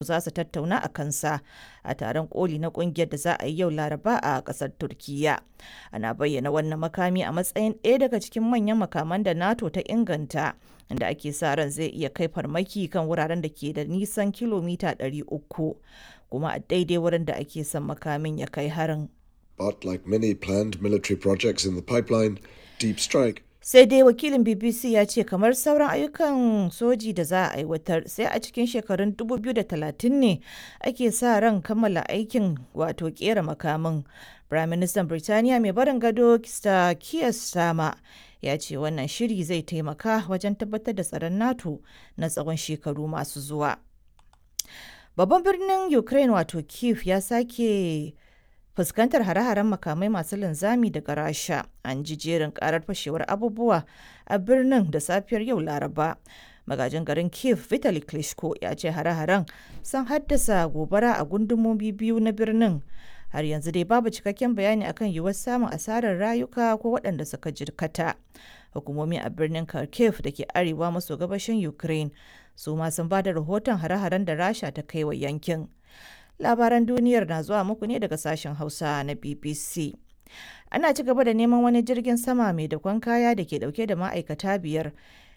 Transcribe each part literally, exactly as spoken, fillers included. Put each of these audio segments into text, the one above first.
Za su tattauna a kansa a taron koli na kungiyar da za a yi yau Laraba a kasar Turkiyya. Ana bayyana wannan makami a matsayin ɗaya daga cikin manyan makaman da NATO ta inganta, inda ake sa ran zai iya kai farmaki kan wuraren da ke da nisan kilomita ɗari uku, kuma a daidai wurin da ake son makamin ya kai harin. But like many planned military projects in the pipeline, Deep Strike Sai dai wakilin B B C ya ce kamar sauran ayyukan soji da za a aiwatar, sai a cikin shekarun dubu biyu da talatin ne ake sa ran kammala aikin, wato kera makamin. Firaministan Birtaniya mai barin gado Sir Keir Starmer ya ce wannan shiri zai taimaka wajen tabbatar da tsaron NATO na tsawon shekaru masu zuwa. Babban birnin Ukraine, wato Kyiv, ya sake fuskantar hare-haren makamai masu linzami daga Rasha. An ji jerin karar fashewar abubuwa a birnin da safiyar yau Laraba. Magajin garin Kiev Vitali Klitschko ya ce hare-haren sun haddasa gobara a gundumomi biyu na birnin. Har yanzu dai babu cikakken bayani akan yiwuwar samun asarar rayuka ko waɗanda suka jirkata. Hukumomi a birnin Kharkiv da ke arewa maso gabashin Ukraine su ma sun ba da rahoton hare-haren da Rasha ta kai wa yankin. Labaran duniyar na zuwa muku ne daga sashen Hausa na B B C. Ana ci gaba da neman wani jirgin sama mai dakon kaya da ke dauke da ma'aikata biyar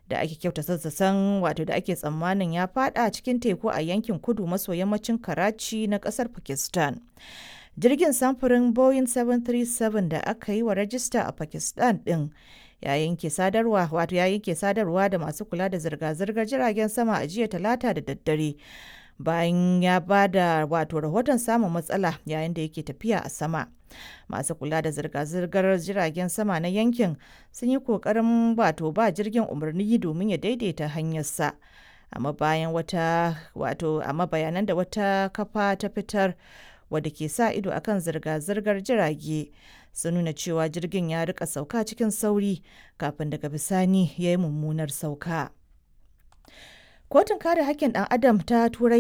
da ake kyauta sassasan, wato da ake tsammanin ya fada cikin teku a yankin kudu maso yammacin Karachi na kasar Pakistan. Jirgin samfurin Boeing bakwai uku bakwai da aka yi wa rajista a Pakistan din ya yanke sadarwa, wato ya yanke sadarwa da masu kula da zirga-zirgar jiragen sama a jiya Talata da daddare, bayan ya ba da wato rahoton samun matsala yayin da yake tafiya a sama. Masu kula da zirga-zirgar jiragen sama na yankin sun yi kokarin wato ba jirgin umarni domin ya daidaita hanyarsa, amma bayan wata wato amma bayanan da wata kafa ta fitar wadda ke sa ido akan zirga-zirgar jirage sun nuna cewa jirgin ya rika sauka cikin sauri kafin daga bisani ya yi mummunar sauka. Kotun kare hakkin ɗan Adam ta Turai